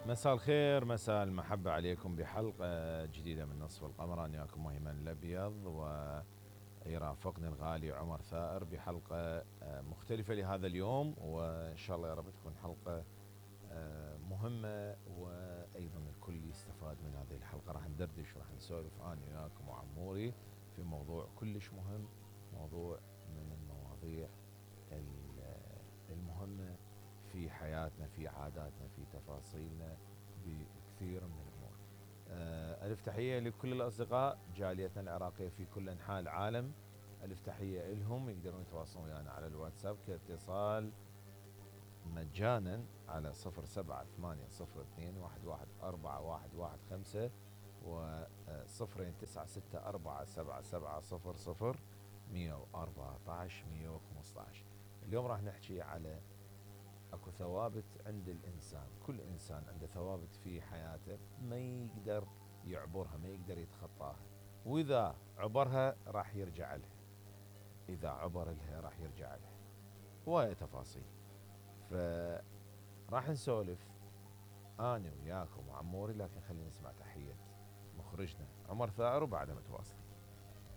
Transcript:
مساء الخير، مساء المحبة عليكم بحلقة جديدة من نصف القمر. أنا وياكم أيمن الأبيض ويرافقني الغالي عمر ثائر بحلقة مختلفة لهذا اليوم، وإن شاء الله يا رب تكون حلقة مهمة وأيضا الكل يستفاد من هذه الحلقة. راح ندردش وراح نسولف أنا وياكم وعموري في موضوع كلش مهم، موضوع من المواضيع المهمة في حياتنا، في عاداتنا، في تفاصيلنا، بكثير من الأمور. ألف تحية لكل الأصدقاء جاليتنا العراقية في كل أنحاء العالم، ألف تحية إلهم. يقدرون يتواصلون ويانا على الواتساب كاتصال مجانا على 07802111415 و 09647700114. اليوم راح نحكي على اكو ثوابت عند الانسان، كل انسان عنده ثوابت في حياته ما يقدر يعبرها، ما يقدر يتخطاها، واذا عبرها راح يرجع لها، اذا عبر لها راح يرجع لها. هواية تفاصيل، فراح نسولف انا وياكم وعموري، لكن خلينا نسمع تحية مخرجنا عمر ثائر وبعدها متواصل.